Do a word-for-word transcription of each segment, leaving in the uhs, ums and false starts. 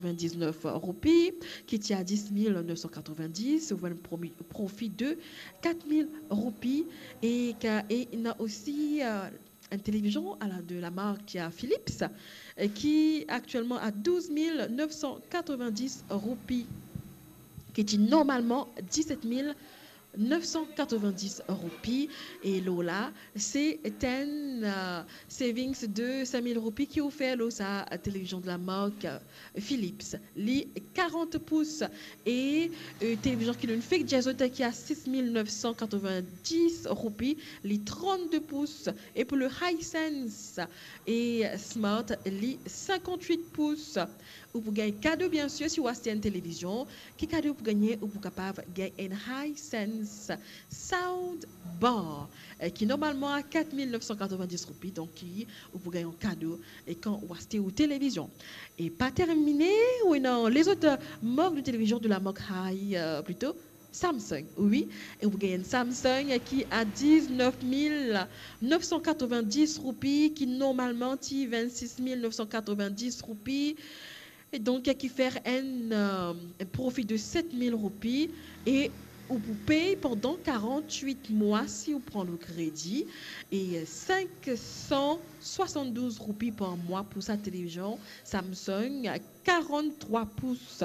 katrevin-diznef roupi, ki ti a dis mil nef san katrevin-dis, ou enn promi-, profi de kat mil roupi. E ka-, e ena osi, euh, enn televizion a la, de la mark, euh, Philips, euh, ki aktielman a douz mil nef san katrevin-dis roupi, ki ti normalman diset mil nef san katrevin-dis roupi. E lor la, se enn, euh, savings de sink mil roupi ki ou fer lor sa, euh, televizion de la mark, euh, Philips. Li karant pous. E, euh, televizion ki nou fek dir zot ki a sis mil nef san katrevin-dis roupi, li trannde pous. E pou le Hisense e Smart, li sinkant-wit pous. Ou pou gagn kado, bien sir, si ou aste enn televizion. Ki kado ou pou gagne? Ou pou kapav gagn enn Hisense sound bar, eh, ki normalman a kat mil nef san katrevin-dis roupi, donk ki ou pou gagn an kado, eh, kan ou aste ou televizion. E pa termine, ou ena lezot, eh, mark de televizion de la mark Hi-, eh, plito, Samsung, wi. E ou pou gagn enn Samsung ki a diznef mil nef san katrevin-dis roupi, ki normalman ti vennsis mil nef san katrevin-dis roupi. E donk, ki fer enn, eh, enn profi de set mil roupi. E ou pou pey pandan karant-wit mwa si ou pran le kredi. E sink san swasanndouz roupi par mwa pou sa televizion Samsung, karant-trwa pous.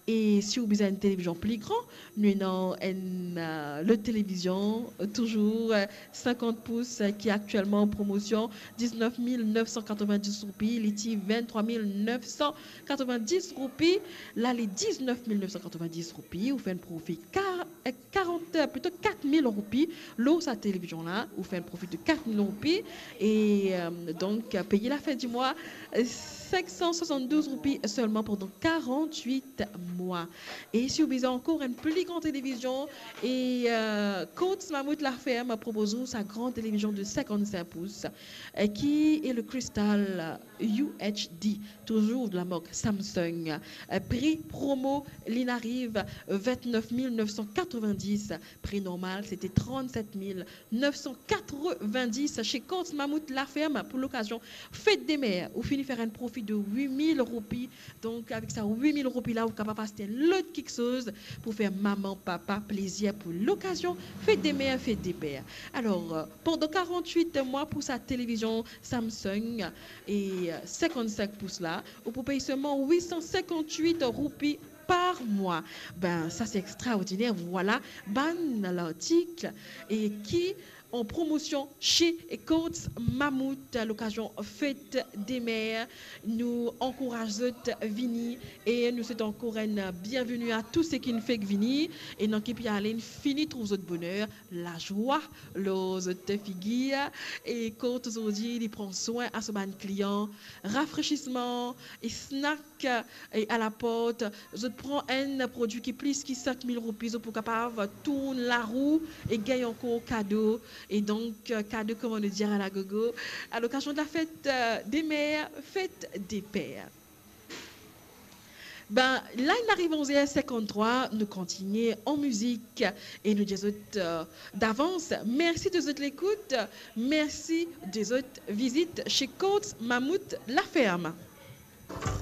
E si ou bizin enn televizion pli gran, nou ena enn, eh, lot televizion, eh, touzour, eh, sinkant pous, eh, ki aktielman an promosion, diznef mil nef san katrevin-dis roupi, li ti venntrwa mil nef san katrevin-dis roupi, la li diznef mil nef san katrevin-dis roupi, ou fer enn profi ka-, eh, karant, eh, plito kat mil roupi lor sa televizion la, ou fer enn profi de kat mil roupi, e, eh, donk, peye lafin di mwa, eh, sink san swasanndouz roupi selman pandan karant-wit mwa. E si ou bizin ankor enn pli gran televizion, e, eh, Courts Mammouth Laferme propoz ou sa gran televizion de sinkant-sink pous, eh, ki e le Crystal U H D, touzour de la mark Samsung. Eh, pri promo, li'nn ariv vintnef mil nef san katrevin-dis, pri normal, se ti trannset mil nef san katrevin-dis. Chez Courts Mammouth Laferme, pou lokazion Fête des Mères, ou fini fer enn profi de wit mil roupi. Donk, avek sa wit mil roupi la, ou kapav aste lot kiksoz pou fer mama, papa plezir pou lokazion Fête des Mères, Fête des Pères. Alor, eh, pandan karant-wit mwa pou sa televizion Samsung e, eh, sinkant-sink pous la, ou pou pey selman wit san sinkant-wit roupi par mwa. Be, sa se extraordiner. Vwala bann lartik e ki an promosion chez Courts Mammouth, lokazion Fête des Mères. Nou ankouraz zot vini e nou swet ankor enn bienveni a tou seki finn fek vini. E ena ki pe ale, inn fini trouv zot boner, lazwa lor zot figir. E Courts zordi, li pran swin a so bann klian, rafresisman e snack e a la port, zot pran enn prodwi ki plis ki sink mil roupi, zot pou kapav tourn larou e gagn ankor kado. E donk, kado, kouma nou dir, a la gogo, a lokazion de la Fête, eh, des Mères, Fête des Pères. Be, la inn ariv onz er sinkant-trwa, nou kontigne an mizik e nou dir zot, eh, davans mersi de zot lekout, mersi de zot vizit chez Courts Mammouth Laferme.